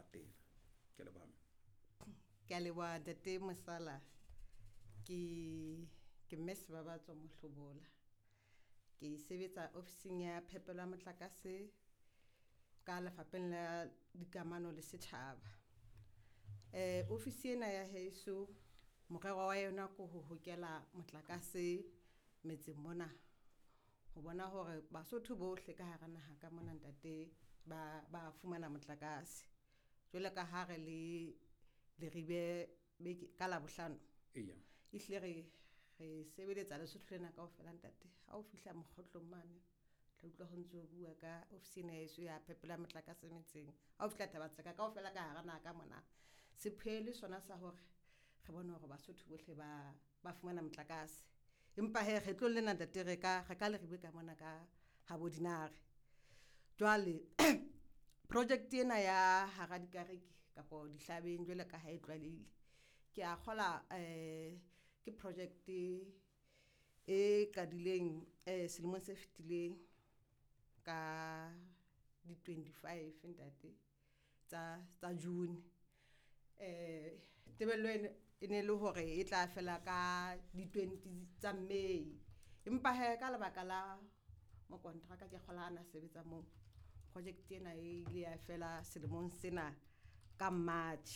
latela. Ke a leboha. Ke a leboha ntate Mosala. Ke ke mme Sebabatso Mohlobola. Ke sebetsa ofising ya phepelo ya motlakase ka lefapheng la dikamano le setjhaba. Ofisi ena ya heso morero wa yona ke ho hokela motlakase metseng mona. Ho bona hore Basotho bohle ka hara naha ka mona ntate ba ba fumana motlakase. Jwalo ka ha re le Leribe beke ka Labohlano. Eya. Ehlile re sebeletsa Lesotho lena kaofela ntate. Ha o fihla mokgotlong mane tla utlwa ho ntso bua ka ofisi ena ya heso ya phepelo ya motlakase metseng. Ha o fihla Thaba-Tseka kaofela ka hara naha ka mona. Sepheo le sona sa hore re bone hore Basotho bohle ba ba fumana motlakase. Empa hee kgetlong lena ntate re ka Leribe ka mona ka habo Dinare. Jwale project ena ya hara dikariki kapo dihlabeng jwalo ka ha e tlwaelehile. Ke a kgola ke project e qadileng selemong se fetileng ka di 25 ntate tsa June. Tebello e ne le hore e tla fela ka di 20 tsa May. Empa hee ka lebaka la mokontraka ke kgola ana sebetsa moo. Project ena e ile ya fela selemong sena ka March.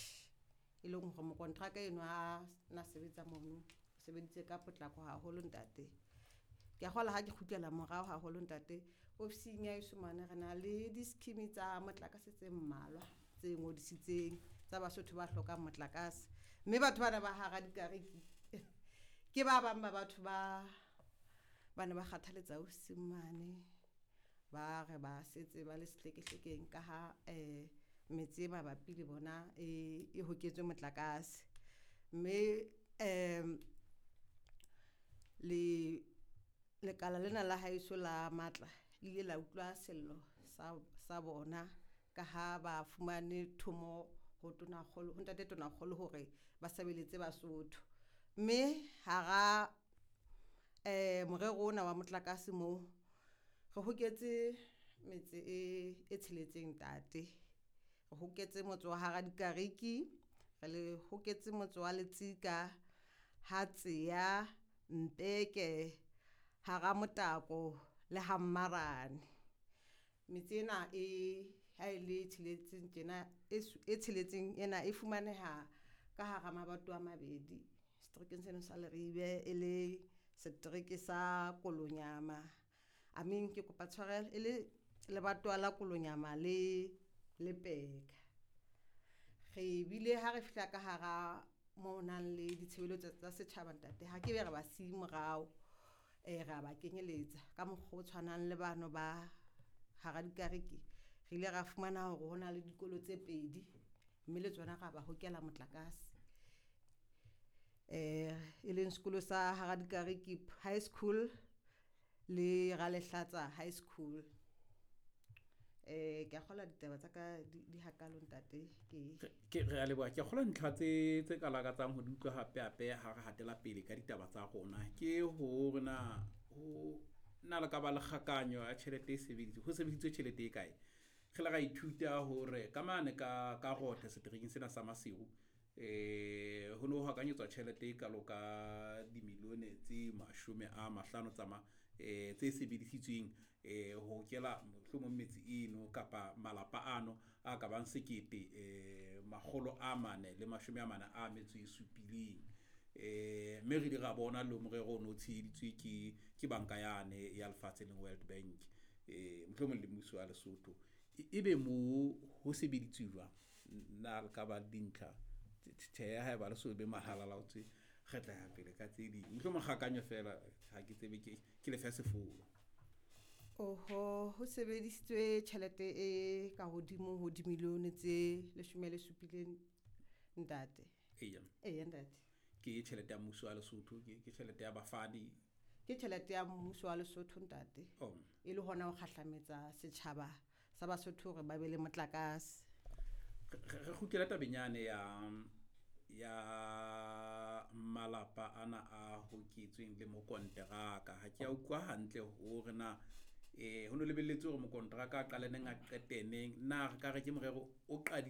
E leng hore mokontraka eno a na sebetsa mono, o sebeditse ka potlako haholo ntate. Ke a kgola ha ke kgutlela morao haholo ntate. Ofising ya heso mane re na le di-scheme tsa motlakase tse mmalwa tse ngodisitseng tsa Basotho ba hlokang motlakase. Mme batho bana ba hara dikariki ke ba bang ba batho ba ba ne ba kgathaletsa ofising mane. Ba re ba setse ba le sehlekehlekeng ka ha metse e mabapi le bona e hoketswe motlakase. Mme le lekala lena la haeso la matla le ile la utlwa sello sa bona ka ha ba fumane thomo ho tonakgolo ho ntate tonakgolo hore ba sebeletse Basotho. Mme hara morero ona wa motlakase moo re hoketse metse e tsheletseng ntate. Re hoketse motse wa hara dikariki, re le hoketse motse wa Letsika, ha Tseya, Mpeke, hara Motako le ha Mmarane. Metse ena e ha e le tsheletseng tjena e tsheletseng ena e fumaneha ka hara mabatowa a mabedi seterekeng seno sa Leribe e le setereke sa Kolonyama. I mean ke kopa tshwarelo e le lebatowa la Kolonyama le Peka. Re bile ha re fihla ka hara mo nang le ditshebeletso tsa setjhaba ntate ha ke be re ba siye morao. Re a ba kenyeletsa ka mokgwa o tshwanang le bano ba hara dikariki. Re ile ra fumana hore hona le dikolo tse pedi mme le tsona ra ba hokela motlakase. E leng sekolo sa hara dikariki High School le Ralehlatsa High School. Ke a kgolwa ditaba tsa ka di hakalo ntate ke Ke re a leboha. Ke kgolwa ntlha tse ka lakatsang ho di utlwa hape hape ha re hatela pele ka ditaba tsa rona. Ke hore na ho na le ka ba le kgakanyo ya tjhelete e sebedisitswe, ho sebedisitswe tjhelete e kae. Re le ra ithuta hore ka mane ka Rothe seterekeng sena sa Maseru ho no hakanyetswa tjhelete e kalo ka dimilione tse 50 tsa ma tse sebedisitsweng ho kela mohlomong metse eno kapa malapa ano a ka bang 1 447. Mme re ile ra bona le morero ono o tsheheditswe ke banka yane ya lefatshe leng World Bank, mohlomong le mmuso wa Lesotho. Ebe mo ho sebeditswe jwang? Na le ka ba dintlha? Tjhe, haeba le so be mahalala o tswe, re tla ya pele ka tse ding. Mohlomong kgakanyo fela ha ke tsebe ke lefe sefolo. Oho, ho sebedisitswe tjhelete e ka hodimo ho dimilione tse 17 ntate. Eya. Eya ntate. Ke tjhelete ya mmuso wa Lesotho, ke tjhelete ya bafani. Ke tjhelete ya mmuso wa Lesotho ntate. Oh. E le hona ho kgahlametsa setjhaba sa Basotho hore ba be le motlakase. Re kgutlele tabeng yane ya malapa ana a hoketsweng le mokonteraka. Ha ke a utlwa hantle hore na ho no lebelletswe hore mokonteraka a qale neng a qete neng. Na re ka re ke morero o qadileng